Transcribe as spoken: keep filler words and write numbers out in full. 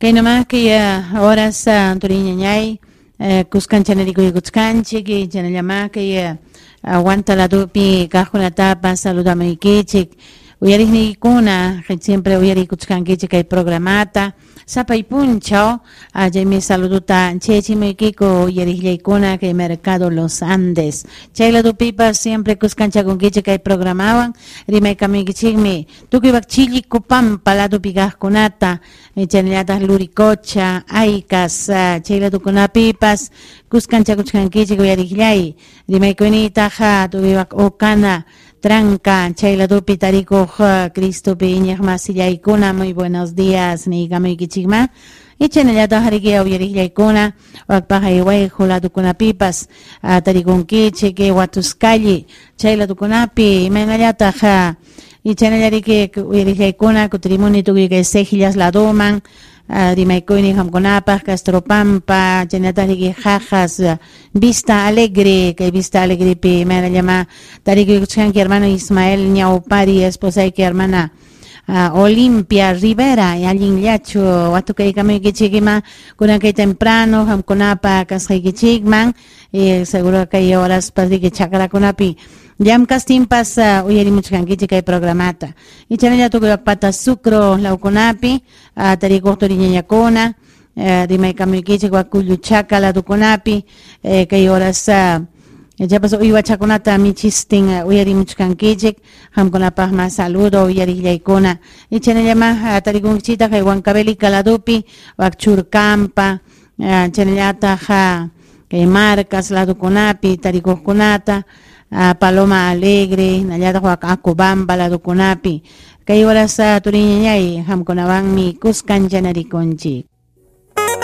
Kay nomás kay horas turiñañay kuskanchanerikuykuchkanchik chaynallamá kay Huanta ladupi kaqkunatapas saludamaykichik uyariqniykuna siempre uyarikuchkankichik kay programata sapay punchaw chaymi saluduta chayachimuykiku uyariqllaykuna kay Mercado Los Andes chay ladupipas siempre kuskanchakunkichik kay programawan rimaykamuykichikmi tukuy Chillicupampa ladupi kaqkunata chaynallataq Luricocha, Aycas chay ladukunapipas kuskanchakuchkankichik uyariqllay rimaykuyniytaq tukuy Ocana Tranca, chay ladupi tarikuq Cristopi iñiq masillaykuna muy buenos días niykamuykichikma y chaynallataq riki uyariqllaykuna wakpaq Wayqu ladukunapipas tarikunkichik Huatuscalli chay ladukunapi imaynallataq y chaynallariki uyariqllaykuna kutirimuni tukuy kay Cejillas laduman rimaykuyni qamkunapaq Castropampa chaynallataq riki Jajas Vista Alegre kay Vista Alegrepi imaynallama tarikuykuchkanki hermano Ismael Ñawpari esposayki hermana Uh, Olimpia Rivera allinllachu watukaykamuykichik ima kunan kay temprano qamkunapa kasqaykichikman eh, seguro kay horaspas riki chakrakunapi llamkastinpas uh, uyarimuchkankichik kay programata y chaynalla tukuy pata Sucro lawkunapi uh, tarikuq turiñañakuna uh, rimaykamuykichik Wakulluchaka ladukunapi eh, kay horas uh, Chapas uywachakunata michistin uyarimuchkankichik qamkunapaq mas saludo uyariqllaykuna y chaynallama tarikunkichitaq kay Huancavelica ladupi wak Churcampa chaynallataq kay Marcas ladukunapi tarikuqkunata Paloma Alegre hinallataq wak Acobamba ladukunapi kay horas turiñañay qamkunawanmi kuskanchanarikunchik.